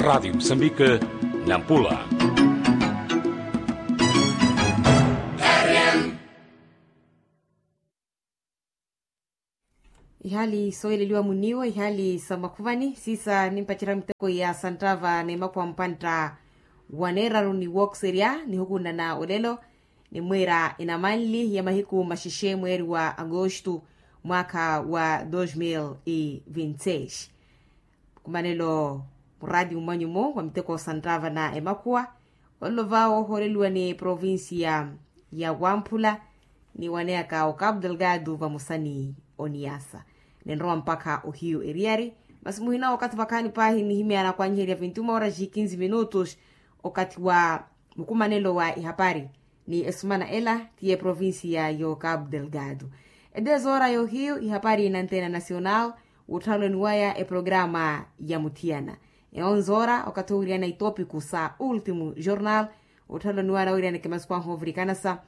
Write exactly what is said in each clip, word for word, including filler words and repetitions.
Radiyo musambike, nampula. Ihali sooyeleliwa muniiwa ihali sa makhuvani siisa nimpacerya miteko ya santtava n'emakuwa mpantta, waneeraru ni wookiserya nihukunana olelo. Nimwiira inamanli ya mahiku maxexe mweeri wa agosto, mwaakha wa dos mil e vinti seis. Mukumanelo muraati mmwanyumo wa miteko santtava na emakhuwa, olelo vaawo ohooleliwa ni provincia ya wamphula, ni waneyaka o cabo delgado vamosa ni oniasa. Ninrowa mpakha ohiyu eriyari, masi muhina okathi vakhaani paahi nihimyana kwanyiherya vinti uma horas e quinze minutos, okathi wa mukumanelo wa ihapari ni esumana ela ti eprovincia yo cabo delgado. Edezoora yohiyu ihapari na antena nacional, wootthaloni waya eprograma ya muthiyana. Eonzoora okathi owiriyana itopiku sa ultimu jornal, wootthaloni waya nawiriyana ekemasuku ahu ovirikanasa,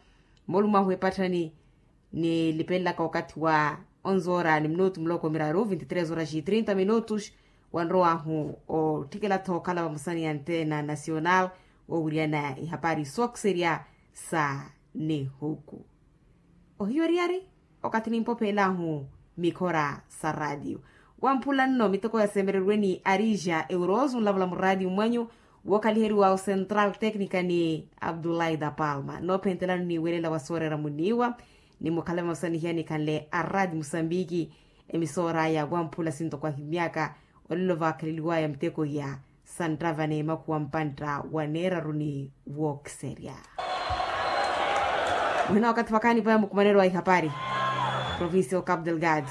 molumahu epatthani nilipelelaka okathi wa onzoora ni minutu muloko miraru vinti tres horas e trinta minutos. Wanrowahu otthikela-tho okhala vamosa ni antena nacional, woowiriyana ihapari sookiserya sa nihuku. Ohiyo eriyari okathi nimpopheelahu mikhora sa ratiyo. Wamphula nno miteko yasemereriwe ni arija euroso nlavula muratiyo mwanyu, wookhaliheriwa o central tecnica ni abdullahi da palma noophentelano ni welela wa sooreera muniiwa. Ni mukhala vamosa ni hiya nikhanle arati musambiki, emisoora ya wamphula sintoko ahimyaka. Olelo vaakhaleliwaya miteko iya santtava n'emakhuwa mpantta wa neeraru ni wookiserya. Muhina wakathi vakhaani vaya mukumanelo wa ihapari provincia o cabo delgado.